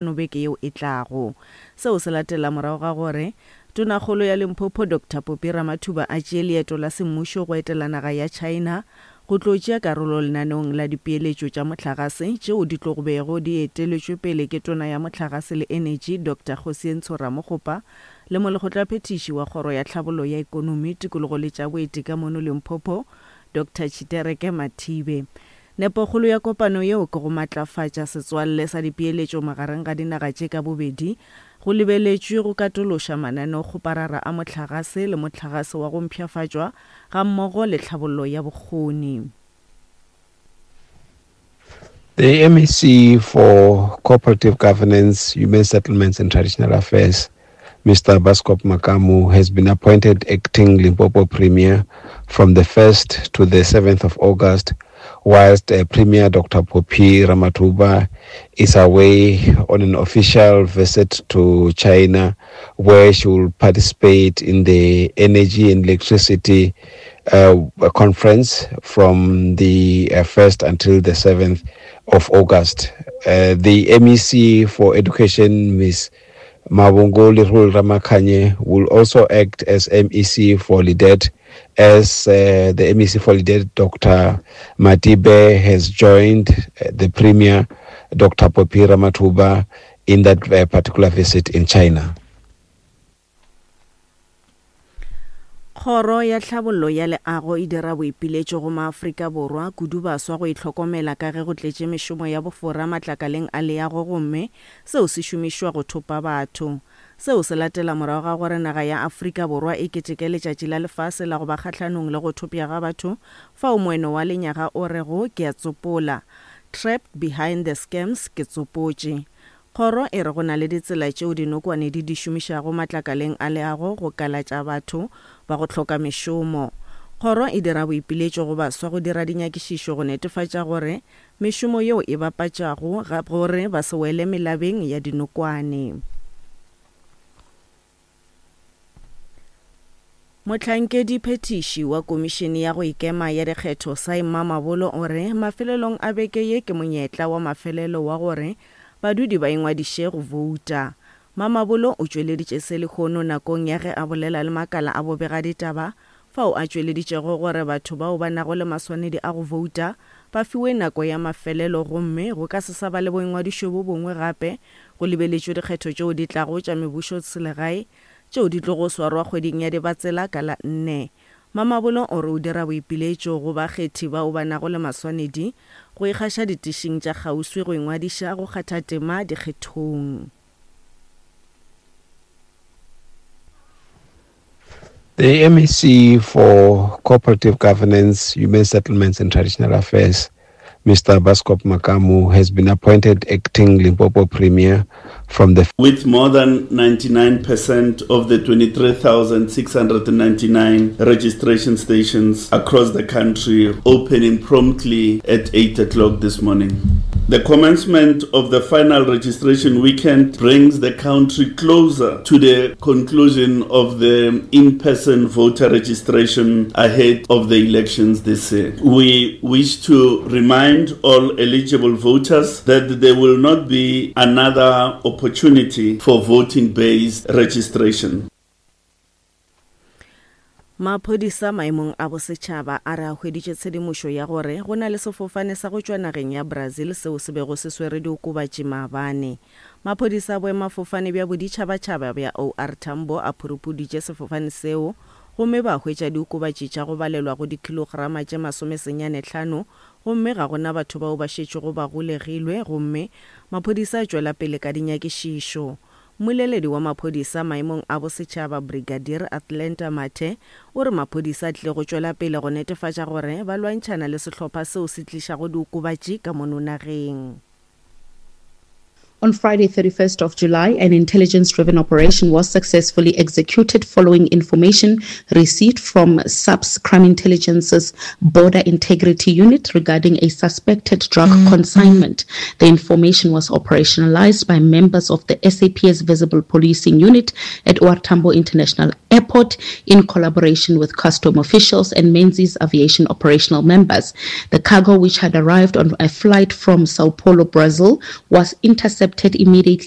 Beke yeo e tlago. Seo se latela morago ga gore Tonakgolo ya Limpopo Doctor Phophi Ramathuba a tšee leeto la semmušo go etela naga ya China go tlo tšea karolo lenaneong la dipeeletšo tša mohlagase tšeo di tlo bego di eteletšwe pele ke Tona ya Mohlagase le Enetši Doctor Kgosientsho Ramokgopa le Molekgotlaphethiši wa Kgoro ya Tlhabollo ya Ekonomi, Tikologo le tša Boeti ka mono Limpopo Doctor Tshitereke Mathibe. Nepokgolo ya kopano yeo ke go matlafatša setswalle sa dipeeletšo magareng ga dinaga tše ka bobedi, go lebeletšwe go katološa mananeokgoparara a mohlagase le mohlagase wa go mpshafatšwa gammogo le tlhabollo ya bokgoni. The MEC for Cooperative Governance, Human Settlements and Traditional Affairs, Mr. Baskop Makamu, has been appointed acting Limpopo Premier from the 1st to the 7th of August, whilst uh, Premier Dr. Phophi Ramathuba is away on an official visit to China, where she will participate in the Energy and Electricity uh, conference from the uh, 1st until the 7th of August. Uh, the MEC for Education, Ms. Mavhungu Lerule Ramakhanye, will also act as MEC for LIDET, as uh, the MEC for LIDET, Dr. Matibe, has joined uh, the Premier, Dr. Phophi Ramathuba, in that uh, particular visit in China. Kgoro ya Tlhabollo ya Leago e dira boipiletšo go maAfrika Borwa, kudu baswa go itlhokomela ka ge go tletše mešomo ya bofora matlakaleng a leago gomme seo se šomišwa go thopa batho. Seo se latela morago ga gore naga ya Afrika Borwa e keteke Letšatši la Lefase la go ba Kgahlanong le go Thopša ga Batho fao moeno wa lenyaga o rego Ke a tsopola, Trapped Behind the Scams, Ke tsopotše. Kgoro e re go na le ditsela tšeo dinokwane di di šomišago matlakaleng a leago go kalatša batho ba go hloka mešomo. Kgoro e dira boipiletšo go baswa go dira dinyakišišo go netefatša gore mešomo yeo e bapatšago ga gore ba se wele melabeng ya dinokwane. Mohlankedi-phethiši wa Komišene ya go Ikema ya Dikgetho Saim Mamabolo o re mafelelong a beke ye ke monyetla wa mafelelo wa gore badudi ba ingwadiše go bouta. Mamabolo o tšweleditše se lehono nakong ya ge a bolela le makala a bobegaditaba fao a tšweleditšego gore batho bao ba nago le maswanedi a go bouta ba fiwe nako ya mafelelo gomme go ka se sa ba le boingwadišo bo bongwe gape go lebeletšwe dikgetho tšeo di tlago tša mebušoselegae tšeo di tlogo swarwa kgweding ya Dibatsela ka la nne. Mamabolo o re o dira boipiletšo go bakgethi bao ba nago le maswanedi go ikgaša ditišing tša kgauswi go ingwadiša go kgatha tema dikgethong. The MEC for Cooperative Governance, Human Settlements and Traditional Affairs, Mr. Baskop Makamu, has been appointed acting Limpopo Premier from the... With more than 99% of the 23,699 registration stations across the country opening promptly at 8 o'clock this morning. The commencement of the final registration weekend brings the country closer to the conclusion of the in-person voter registration ahead of the elections this year. We wish to remind all eligible voters that there will not be another opportunity for voting-based registration. Maphodisa maemong a bosetšhaba a re a hweditše tshedimošo ya gore go na le sefofane sa go tšwa nageng ya Brazil seo se bego se swere diokobatši maabane. Maphodisa a boemafofane bja boditšhabatšhaba bja OR Tambo a phurupuditše sefofane seo gomme ba hwetša diokobatši tša go balelwa go dikhilograma tše masomesenyanehlano gomme ga go na batho bao ba šetšego ba golegilwe gomme maphodisa a tšwela pele ka dinyakišišo. Mmoleledi wa maphodisa maemong a bosetšhaba Brigadier Athlenda Mathe o re maphodisa a tlile go tšwela pele go netefatša gore ba lwantšhana le sehlopha seo se tlišago diokobatši ka mono nageng. On Friday, 31st of July, an intelligence-driven operation was successfully executed following information received from SAPS Crime Intelligence's Border Integrity Unit regarding a suspected drug consignment. The information was operationalized by members of the SAPS Visible Policing Unit at OR Tambo International Airport in collaboration with custom officials and Menzies Aviation operational members. The cargo, which had arrived on a flight from Sao Paulo, Brazil, was intercepted. intercepted immediately.